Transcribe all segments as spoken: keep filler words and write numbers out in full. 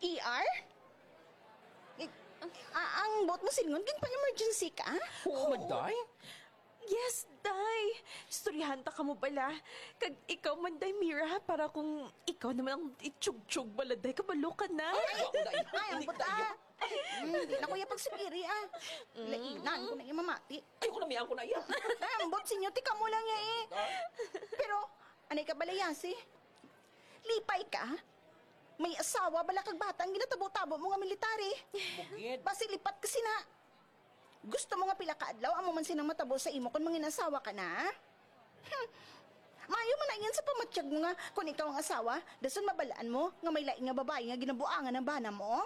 E R? Eh, a-, ang buot mo silingon, ginpa-emergency ka? Oo man, day. Yes, day. Istoryahan ta kamo bala. Kag ikaw man, day, Mira, para kung ikaw naman ang itsugyog bala, day, kabalo ka na. Ay, ay, ay, ay, ang buta. Hindi na ko iya pagsugiri, ah. Mm. Lainan ko na iya mamati. Ay, ko na, miyan ko na iya. Ay, ambot, sinyo, tika mo lang niya, eh. Ah. Pero, anay ka bala, Yasi? Lipay ka? May asawa bala kag bata ang ginatabo-tabo mo nga military. Bugid. Basi lipat ka sina. Gusto mo nga pila ka adlaw amo man sinang matabo sa imo kon mangin-asawa ka na? Hmm. Maayo man na ingon sa pamatyag mo nga kon ikaw ang asawa, dason mabalaan mo nga may lain nga babayi nga ginabuangan ang bana mo?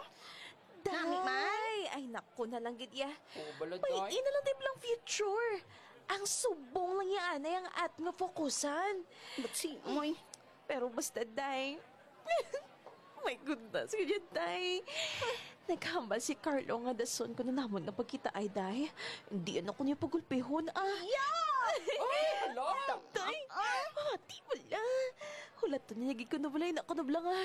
Nami man? Day! Ay, naku na lang gid iya. Oo, bala, day. May ina lang, day, lang future. Ang subong lang niya, anay, ang at nga fokusan. Ba't si Moy? Pero basta, day. My goodness, kaya, day. Naghambal si Carlo nga dason ko na namon nga pagkita ay, day. Hindi, ano ko niya pagulpihon, ah. Yeah! Ay, hala! Day, ah, di wala. Hulaton niya, gid ko na wala, na ko na wala nga.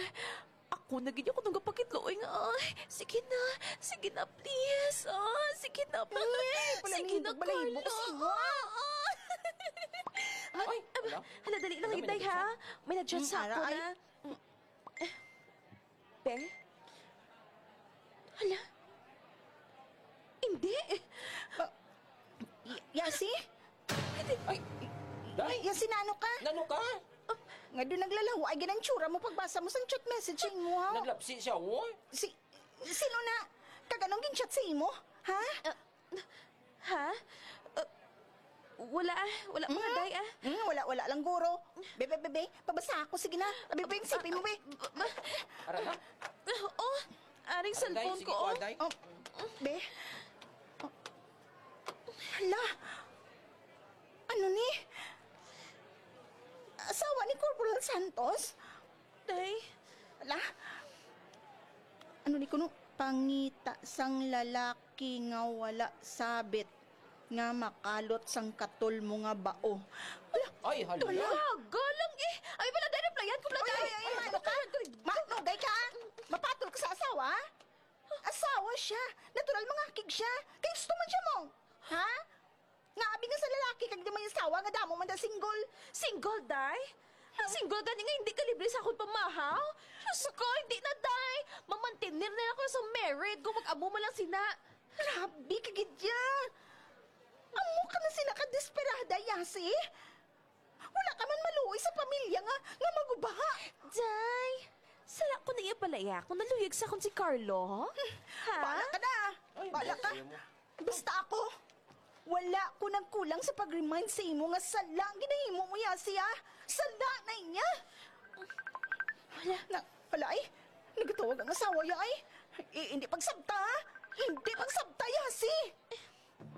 Ako na gid ako nagapakitloy nga, ay, sige na, sige na, please, ah, sige na, please, sige na, Carlo. Ay, pala, Carlo. Ay, hala. Hala, dali lang, Inday, ha? May nag-chat sa ako na. Be? Hala? Hindi. Ah, y-, Yasi? Ay, day. Yasi, nano ka? Nano ka? Ah, nga doon naglalaho, ay ginantsura mo pagbasa mo sang chat message sa imo, ha? Naglapsi siya, oh. Si, sino na? Kag anong gin-chat sa imo? Ha? Ah, Ha? Uh, wala, ah. Wala, mga day, ah. Hmm, wala, wala lang, guro. Be, be, be, be, pabasa ako. Sige na. Abi, be, ang sipin mo, be. Aray, ha? Oh, aring cellphone ko, oh. Aray, day, sige ko, day. Oh, be. Oh. Hala. Ano ni? Asawa ni Corporal Santos? Day. Ala? Ano ni kuno? Pangita sang lalaki nga wala sabit nga makalot sang katol mo nga bao. Ala? Ay, hala. Talaga lang eh. Ay, wala, day, replyan ko, wala, day. Ay, ay, ay, ano ka? Ma, nugay ka? Mapatol ka sa asawa? Asawa siya. Natural mangakig siya. Kay gusto man siya mo. Ha? Nga abi nga sa lalaki kag di may asawa nga damo man da single. Single, day? Ang single gani nga hindi ka libre sa akon pamahaw? Diyos ko, hindi na, day. Mamantener na lang ko sa married kung mag-amo man lang sina. Grabe ka gid ya. Amo ka na sina ka desperada, Yasi. Wala ka man maluoy sa pamilya nga, nga maguba. Day, sala ko na iya palaya kung naluyag sa akon si Carlo. Ha? Bala ka na. Ay, bala ka. Basta ako, wala ko nagkulang sa pag-remind sa imo nga sala ang ginahimo mo, Yasi, ah. Sala na niya. Wala. Na, wala, ay. Nagatawag ang asawa, ya, ay. I-, hindi pagsabta, ha? Hindi pagsabta, Yasi.